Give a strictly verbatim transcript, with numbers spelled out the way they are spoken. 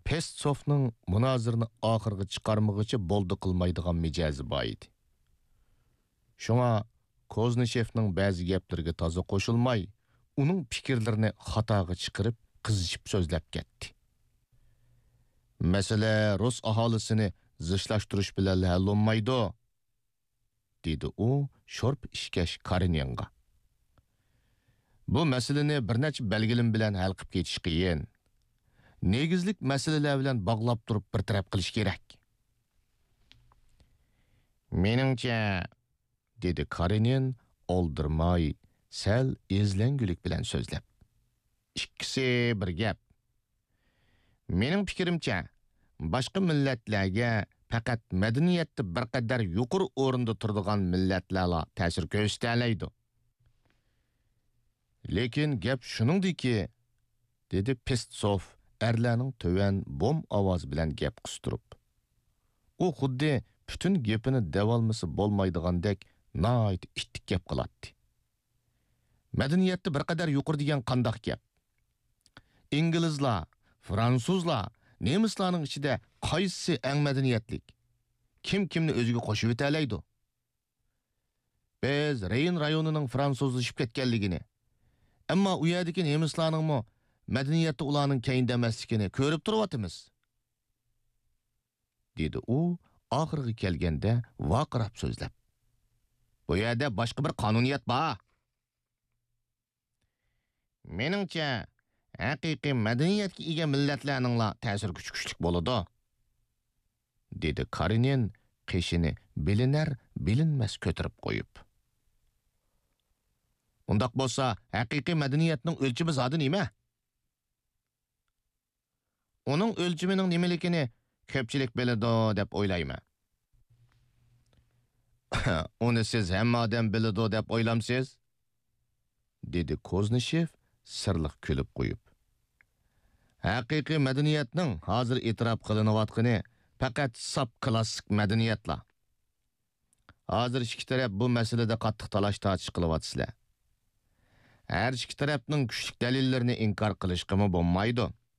پېستسوفنىڭ مۇنازىرىنى ئاخىرغا چىقارمىغۇچە بولدى قىلمايدىغان مىجەزى بار ئىدى. شۇڭا كوزنىشېفنىڭ بەزى گەپلىرىگە تازا قوشۇلماي، ئۇنىڭ پىكىرلىرىنى خاتاغا چىقىرىپ، قىزىشىپ سۆزلەپ كەتتى. مەسىلە رۇس ئاھالىسىنى زىچلاشتۇرۇش بىلەنلا ھەل بولمايدۇ، دېدى ئۇ شورپا ئىچكەچ كارېنىنغا. بۇ مەسىلىنى بىر نەچچە بەلگىلىمە بىلەن ھەل قىلىپ كېتىش قىيىن. نېگىزلىك مەسىلىلەر بىلەن باغلاپ تۇرۇپ بىر تەرەپ قىلىش كېرەك. مېنىڭچە، دېدى كارېنىن ئالدىرىماي، سەل ئېزىلەڭگۈلۈك بىلەن سۆزلەپ. ئىككىسى بىر گەپ. مېنىڭ پىكرىمچە، باشقا مىللەتلەرگە پەقەت مەدەنىيەتتە بىر قەدەر يۇقىرى ئورۇندا تۇرىدىغان مىللەتلەرلا تەسىر كۆرسىتەلەيدۇ. لېكىن گەپ شۇنىڭدىكى، دېدى پېستسوف ئەرلەرنىڭ تۆۋەن بوم ئاۋازى بىلەن گەپ قىستۇرۇپ. ئۇ خۇددى پۈتۈن گېپىنى دەۋالمىسا بولمايدىغاندەك ناھايىتى ئىتتىك گەپ قىلاتتى. مەدەنىيەتتە بىر قەدەر يۇقىرى دېگەن قانداق گەپ؟ ئىنگلىزلار، فرانسۇزلار، نېمىسلارنىڭ ئىچىدە قايسىسى ئەڭ مەدەنىيەتلىك؟ كىم كىمنى ئۆزىگە قوشۇۋېتەلەيدۇ؟ بىز رېين رايونىنىڭ فرانسۇزلىشىپ كەتكەنلىكىنى، ئەمما ئۇ يەردىكى نېمىسلارنىڭمۇ مەدەنىيەتتە ئۇلارنىڭ كەينىدە ئەمەسلىكىنى كۆرۈپ تۇرۇۋاتىمىز، دېدى ئۇ ئاخىرىغا كەلگەندە ۋارقىراپ سۆزلەپ. بۇ يەردە باشقا بىر قانۇنىيەت بار. مېنىڭچە، ھەقىقىي مەدەنىيەتكە ئىگە مىللەتلەرنىڭلا تەسىر كۈچى كۈچلۈك بولىدۇ، دېدى كارېنىن قېشىنى بىلىنەر-بىلىنمەس كۆتۈرۈپ قويۇپ. ئۇنداق بولسا، ھەقىقىي مەدەنىيەتنىڭ ئۆلچىمى زادى نېمە؟ ئۇنىڭ ئۆلچىمىنىڭ نېمىلىكىنى كۆپچىلىك بىلىدۇ دەپ ئويلايمەن. ئۇنى سىز ھەممە ئادەم بىلىدۇ دەپ ئويلامسىز؟ دېدى كوزنىشېف سىرلىق كۈلۈپ قويۇپ. ھەقىقىي مەدەنىيەتنىڭ ھازىر ئېتىراپ قىلىنىۋاتقىنى پەقەت ساپ كلاسسىك مەدەنىيەتلا. ھازىر ئىككى تەرەپ بۇ مەسىلىدە قاتتىق تالاش-تارتىش قىلىۋاتىسىلەر. ھەر ئىككى تەرەپنىڭ كۈچلۈك دەلىللىرىنى ئىنكار قىلىشقىمۇ بولمايدۇ.